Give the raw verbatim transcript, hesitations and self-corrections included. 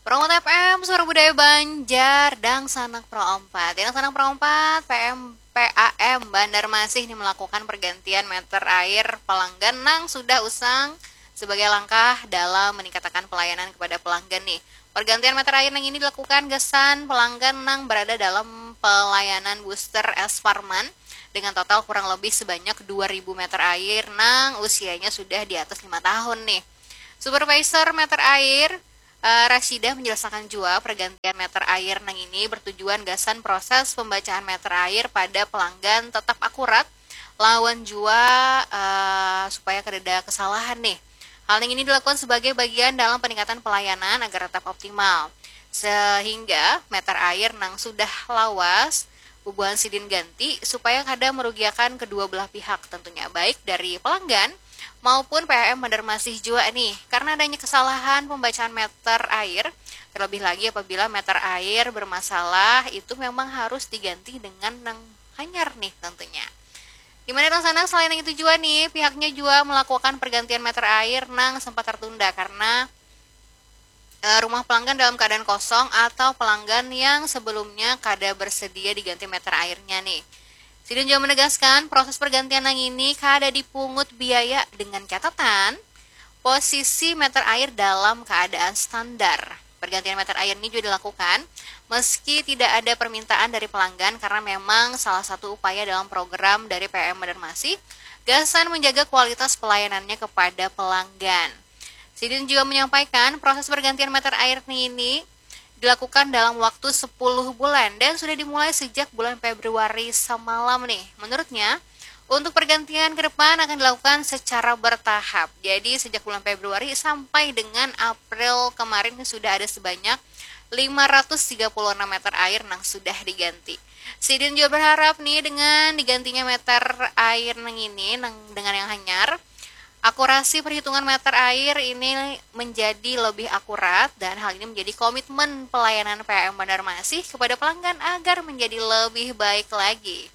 Promote F M, Suara Budaya Banjar, Dangsanak Pro empat. Dangsanak Pro empat, P M, P A M Banjarmasin ini melakukan pergantian meter air pelanggan nang sudah usang sebagai langkah dalam meningkatkan pelayanan kepada pelanggan nih. Pergantian meter air nang ini dilakukan gasan pelanggan nang berada dalam pelayanan booster S Parman dengan total kurang lebih sebanyak dua ribu meter air nang usianya sudah di atas lima tahun nih. Supervisor meter air, eh, Rashidah menjelaskan jua pergantian meter air nang ini bertujuan gasan proses pembacaan meter air pada pelanggan tetap akurat lawan jua, eh, supaya kadada kesalahan nih. Hal nang ini dilakukan sebagai bagian dalam peningkatan pelayanan agar tetap optimal. Sehingga meter air nang sudah lawas bubuhan sidin ganti supaya kada merugiakan kedua belah pihak tentunya, baik dari pelanggan maupun P A M Banjarmasin jua nih. Karena adanya kesalahan pembacaan meter air, terlebih lagi apabila meter air bermasalah, itu memang harus diganti dengan nang hanyar nih tentunya. Di mana Dangsanak, selain nang itu jua nih, pihaknya jua melakukan pergantian meter air nang sempat tertunda karena, eh, rumah pelanggan dalam keadaan kosong atau pelanggan yang sebelumnya kada bersedia diganti meter airnya nih. Sidin jua menegaskan, proses pergantian nang ini kada dipungut biaya dengan catatan posisi meter air dalam keadaan standar. Pergantian meter air ini juga dilakukan meski tidak ada permintaan dari pelanggan karena memang salah satu upaya dalam program dari P M Banjarmasin gasan menjaga kualitas pelayanannya kepada pelanggan. Sidin juga menyampaikan proses pergantian meter air ini dilakukan dalam waktu sepuluh bulan dan sudah dimulai sejak bulan Februari semalam nih. Menurutnya, untuk pergantian ke depan akan dilakukan secara bertahap. Jadi sejak bulan Februari sampai dengan April kemarin sudah ada sebanyak lima ratus tiga puluh enam meter air nang sudah diganti. Sidin juga berharap nih dengan digantinya meter air nang ini nang dengan yang hanyar, akurasi perhitungan meter air ini menjadi lebih akurat dan hal ini menjadi komitmen pelayanan P M Banjarmasin kepada pelanggan agar menjadi lebih baik lagi.